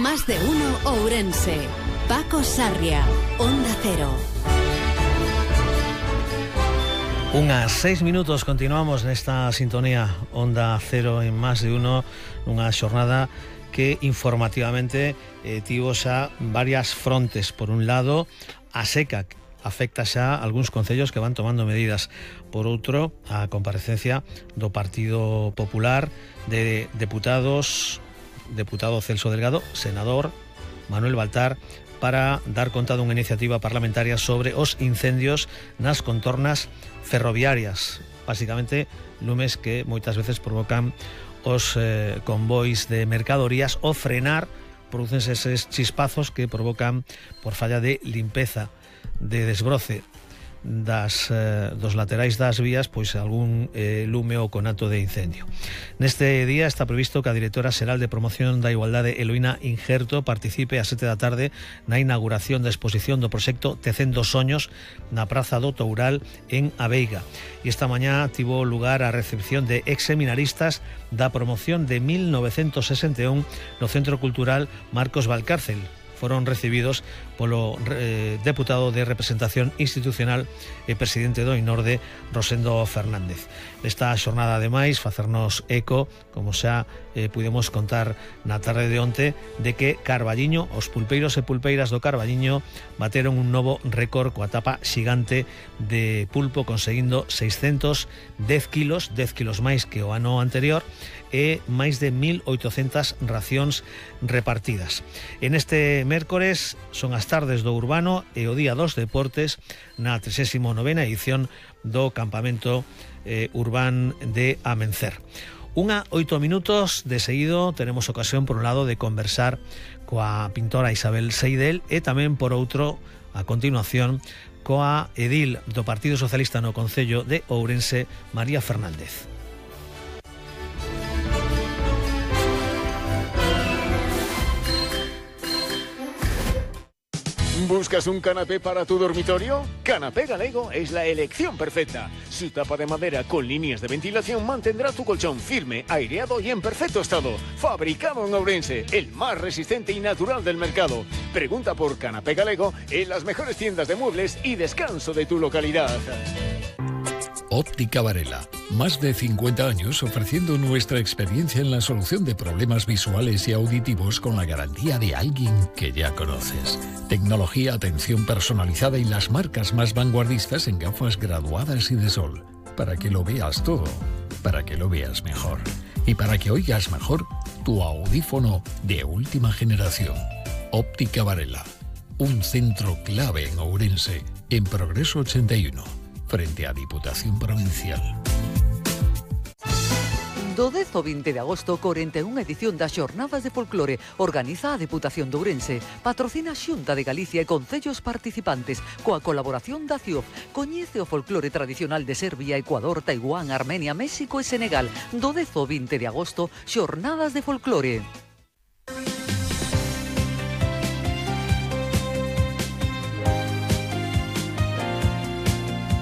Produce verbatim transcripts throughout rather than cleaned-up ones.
Más de uno Ourense. Paco Sarria, Onda Cero. Unhas seis minutos, continuamos nesta sintonía Onda Cero en Más de uno, nunha xornada que informativamente eh, tivo xa varias frontes. Por un lado, a seca afecta xa algúns concellos que van tomando medidas. Por outro, a comparecencia do Partido Popular de deputados, deputado Celso Delgado, senador Manuel Baltar, para dar conta dunha iniciativa parlamentaria sobre os incendios nas contornas ferroviarias, basicamente lumes que moitas veces provocan os eh, convois de mercadorías o frenar, producense eses chispazos que provocan por falla de limpeza, de desbroce das, eh, dos laterais das vías, pois algún eh, lume ou conato de incendio. Neste día está previsto que a directora xeral de Promoción da Igualdade, Eloína Injerto, participe ás sete da tarde na inauguración da exposición do proxecto Tecendo Soños na Praza do Toural en Aveiga. E esta mañá tivo lugar a recepción de exseminaristas da promoción de mil novecentos sesenta e un no Centro Cultural Marcos Valcárcel. Foron recibidos polo eh, deputado de representación institucional e presidente do INORDE, Rosendo Fernández. Esta xornada, ademais, facernos eco, como xa eh, pudemos contar na tarde de onte, de que Carballiño, os pulpeiros e pulpeiras do Carballiño bateron un novo récord coa tapa xigante de pulpo, conseguindo seiscentos dez kilos, dez kilos máis que o ano anterior, e máis de mil oitocentas racións repartidas. En este mércores son as tardes do urbano e o día dos deportes na tresésima novena edición do campamento eh, urbán de Amencer. Unha oito minutos de seguido tenemos ocasión, por un lado, de conversar coa pintora Isabel Seidel e tamén, por outro, a continuación, coa edil do Partido Socialista no Concello de Ourense, María Fernández. ¿Buscas un canapé para tu dormitorio? Canapé Galego es la elección perfecta. Su tapa de madera con líneas de ventilación mantendrá tu colchón firme, aireado y en perfecto estado. Fabricado en Ourense, el más resistente y natural del mercado. Pregunta por Canapé Galego en las mejores tiendas de muebles y descanso de tu localidad. Óptica Varela, más de cincuenta años ofreciendo nuestra experiencia en la solución de problemas visuales y auditivos con la garantía de alguien que ya conoces. Tecnología, atención personalizada y las marcas más vanguardistas en gafas graduadas y de sol. Para que lo veas todo, para que lo veas mejor. Y para que oigas mejor, tu audífono de última generación. Óptica Varela, un centro clave en Ourense, en Progreso ochenta y uno. Frente á Diputación Provincial. Do dez ao vinte de agosto, corenta e unha edición das Xornadas de Folclore organiza a Deputación de Ourense, patrocina a Xunta de Galicia e concellos participantes, coa colaboración da C I O F. Coñece o folclore tradicional de Serbia, Ecuador, Taiwán, Armenia, México e Senegal. Do dez ao vinte de agosto, Xornadas de Folclore.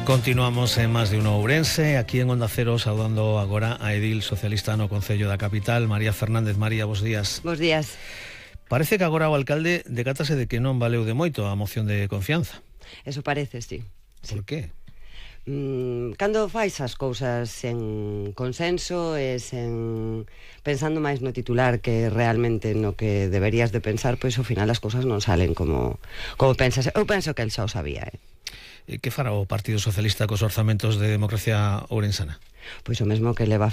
Continuamos en Más de uno Ourense, aquí en Onda Cero, saudando agora a edil socialista no Concello da Capital, María Fernández. María, bos días. Bos días. Parece que agora o alcalde decátase de que non valeu de moito a moción de confianza. Eso parece, sí. Por sí. qué? Mm, cando fais as cousas sen consenso e sen pensando máis no titular que realmente no que deberías de pensar, pois ao final as cousas non salen como, como pensas. Eu penso que el xa o sabía, eh? Que fará o Partido Socialista cos orzamentos de Democracia Ourensana? Pois o mesmo que leva